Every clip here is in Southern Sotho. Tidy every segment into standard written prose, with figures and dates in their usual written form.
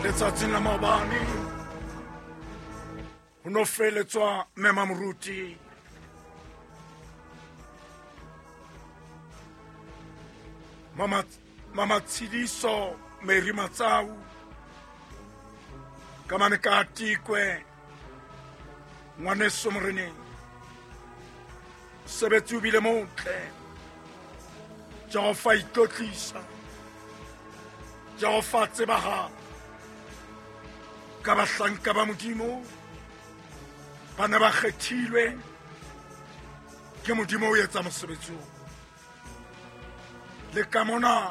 Letsatsing la maobane ho no feletswa mema moruti Mama Mama Tshidiso Mary Matsau ka mane ka tikwe ngwaneso moreneng mosebetsi o bile motle Jehova itlotlisa Jehova tsebahala ka bahlanka ba modimo ba ne ba kgethilwe ke modimo o etsa mosebetsi o le ka mona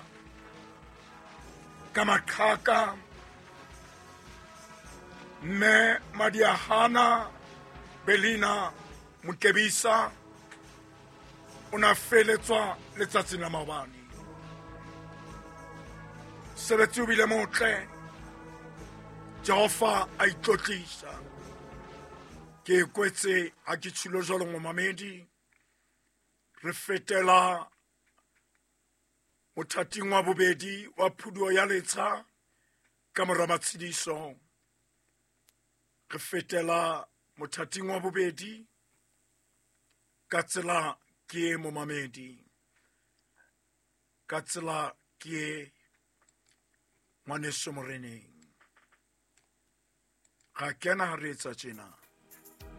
ka maqhaka mme madiahana belina mokebisa o ne a feletswa letsatsing la maobane sebetsi o bile motle jehova a itlotlisa ke e kwetse ha ke tshilo jalo ngomamedi re fetela mothating wa bobedi wa phuduo ya letsha ka mora matshediso re fetela mothating wa bobedi ka tsela ke e momamedi ka tsela ke e ngwaneso moreneng ga kena ga re etsa tjena.